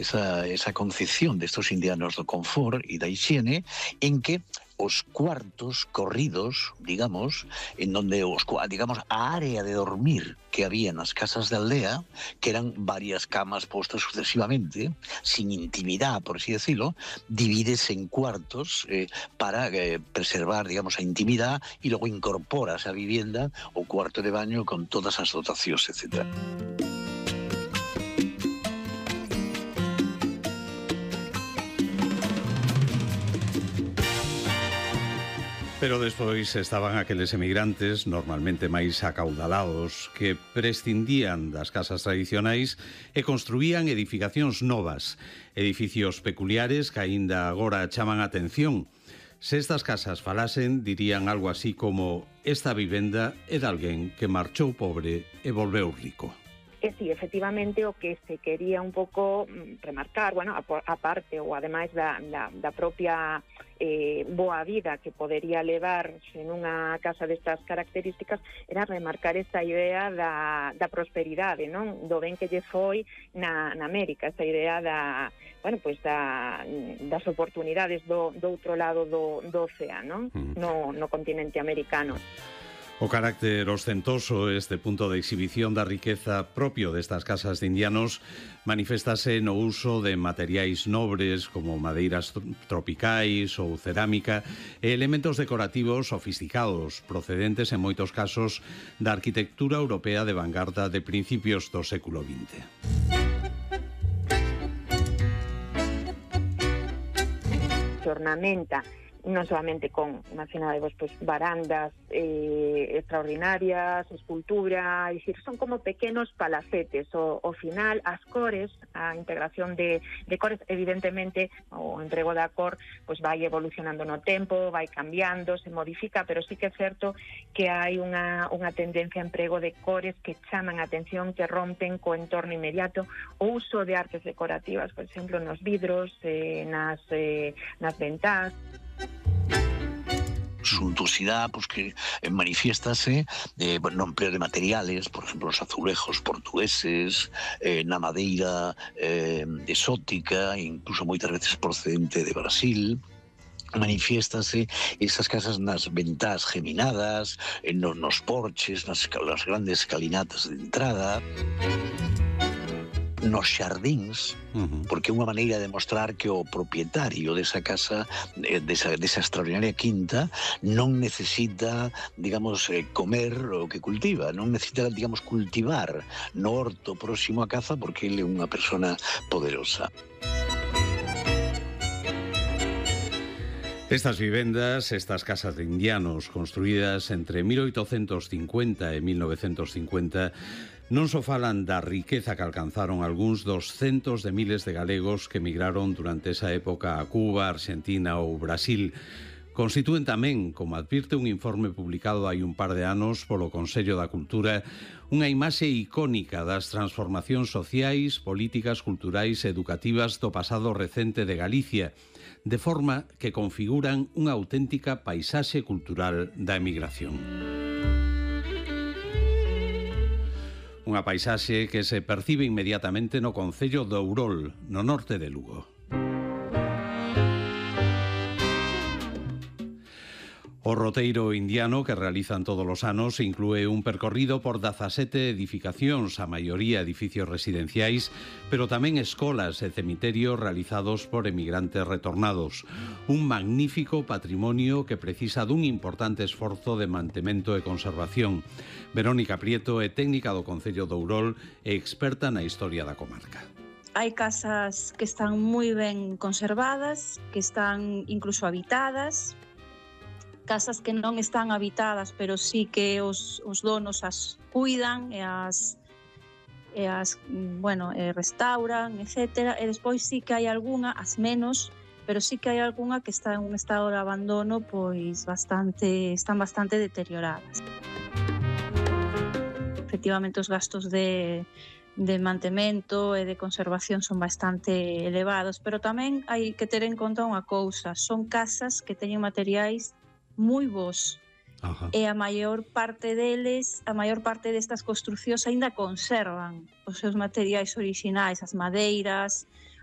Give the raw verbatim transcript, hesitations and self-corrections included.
esa, esa concepción destos indianos do confort e da hixiene, en que os cuartos corridos, digamos, en donde os, digamos, a área de dormir que había nas casas de aldea, que eran varias camas postas sucesivamente, sin intimidad, por así decirlo, divides en cuartos eh, para eh, preservar, digamos, a intimidad, y logo incorporas a vivienda o cuarto de baño con todas as dotacións, etcétera. Pero despois estaban aqueles emigrantes, normalmente máis acaudalados, que prescindían das casas tradicionais e construían edificacións novas, edificios peculiares que aínda agora chaman a atención. Se estas casas falasen, dirían algo así como: esta vivenda é de alguén que marchou pobre e volveu rico. E si, efectivamente, o que se quería un pouco remarcar, bueno, a parte ou ademais da, da, da propia eh, boa vida que podería levarse nunha casa destas características, era remarcar esta idea da, da prosperidade, non? Do ben que lle foi na, na América, esta idea da, bueno, pues da, das oportunidades do, do outro lado do, do océano, mm. no, no continente americano. O carácter ostentoso, este punto de exhibición da riqueza propio destas casas de indianos, manifestase no uso de materiais nobres como madeiras tropicais ou cerámica e elementos decorativos sofisticados, procedentes en moitos casos da arquitectura europea de vanguarda de principios do século vinte. Se ornamenta non solamente con, imaginadevos, pues, barandas eh, extraordinarias, escultura, é dicir, son como pequenos palacetes. O, o final, as cores, a integración de, de cores, evidentemente, o emprego da cor, pues, vai evolucionando no tempo, vai cambiando, se modifica, pero sí que é certo que hai unha, unha tendencia a emprego de cores que chaman a atención, que rompen co entorno inmediato. O uso de artes decorativas, por exemplo, nos vidros, eh, nas, eh, nas ventás. Suntuosidad, pues que manifiéstase eh, no empleo de materiales, por ejemplo, los azulejos portugueses, eh, na madeira eh, exótica, incluso moitas veces procedente de Brasil. Manifiéstase esas casas nas ventás geminadas, en nos, nos porches, nas, nas grandes escalinatas de entrada, nos xardíns, uh-huh. porque é unha maneira de mostrar que o propietario desa casa, desa, desa extraordinaria quinta, non necesita, digamos, comer o que cultiva, non necesita, digamos, cultivar no horto próximo a casa, porque ele é unha persona poderosa. Estas vivendas, estas casas de indianos construídas entre mil oitocentos cincuenta e mil novecentos cincuenta, non só falan da riqueza que alcanzaron algúns dos centos de miles de galegos que emigraron durante esa época a Cuba, Argentina ou Brasil. Constitúen tamén, como advirte un informe publicado hai un par de anos polo Consello da Cultura, unha imaxe icónica das transformacións sociais, políticas, culturais e educativas do pasado recente de Galicia, de forma que configuran unha auténtica paisaxe cultural da emigración. Unha paisaxe que se percibe inmediatamente no concello de Ourol, no norte de Lugo. O roteiro indiano que realizan todos os anos inclúe un percorrido por dezasete edificacións, a maioría edificios residenciais, pero tamén escolas e cemiterios realizados por emigrantes retornados. Un magnífico patrimonio que precisa dun importante esforzo de mantemento e conservación. Verónica Prieto é técnica do Concello de Ourol e experta na historia da comarca. Hai casas que están moi ben conservadas, que están incluso habitadas, casas que non están habitadas, pero sí que os, os donos as cuidan e as, e as bueno, e restauran, etcétera. E despois sí que hai algunha, as menos, pero sí que hai algunha que está en un estado de abandono, pois bastante, están bastante deterioradas. Efectivamente, os gastos de, de mantemento e de conservación son bastante elevados, pero tamén hai que ter en conta unha cousa, son casas que teñen materiais moi bons. Ajá. E a maior parte deles, a maior parte destas construcións aínda conservan os seus materiais orixinais, as madeiras,